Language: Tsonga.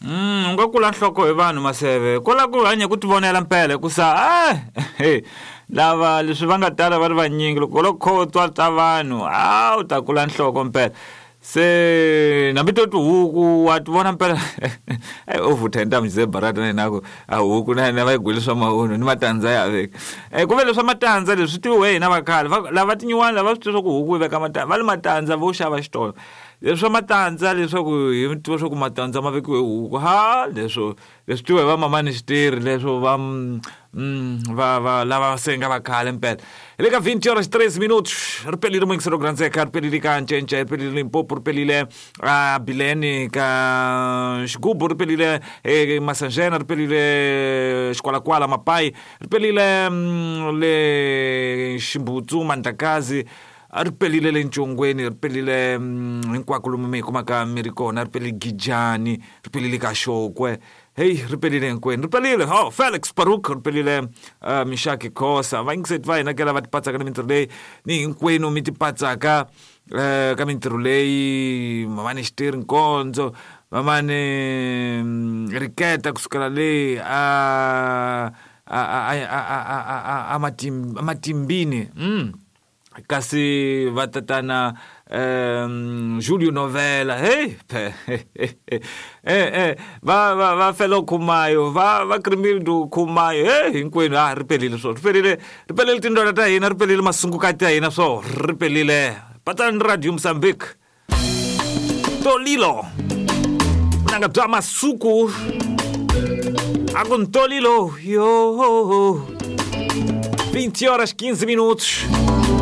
U nga kula nhloko hi vanhu maseve kwala ku hanya ku tivonela mpela hikusa lava leswi va nga tala va ri vanyingi loko lo khotwa ta vanhu a u ta kula nhloko mpela se nambi to tihuku wa ti vona mpela u vutha hi ntamu zebarata na yena ku a huku na yena va yi gwele swa mahunhu ni matandza ya veka ku ve leswa matandza leswi tiviwe hina vakhale lava tinyiwani lava swi tiva swa ku huku yi veka matandza va le matandza vo xava xitolo leswa matandza leswaku hi tiva swa ku matandza ma vekiwe huku ha leswo leswi tiviwa hi va mamani xitirhi leswo va va va lava senga va khale mpela hi le ka 20 horas 3 minutos ri pelile muyingiselo ku rhandzeka ri pelile ka ncence ri pelile limpopo ri pelile a bileni ka xigubu ri pelile masanjena ri pelile xikwalakwala mapayi ri pelile le ximbutsu mandlakazi a ri pelile le ncongweni ri pelile hinkwako lomu mi hi kumaka mi ri kona ri pelile gijani ri pelile ka xokwe heyi ri pelile hinkwenu ri pelile oh felix paruk ri pelile mishaki khosa vayingiseti va hina ke lava tipatsaka ni mintirho leyi ni hinkwenu mi tipatsaka ka mintirho leyi mamani xitirhi nkondzo mamani riketa kusukela le a a a a a a a matimbini kasi va tatana um Julio Novela hey eh eh va va va Felo Khumayo va va Krimildo Khumayo hey hinkwenu a ri pelile swo ri pelile ri pelile tindwala ta hina ri pelile masungukati ya hina swo ri pelile patsani radio Mozambique Tolilo vunanga bya masuku a ku Ntolilo yo 20 horas 15 minutos.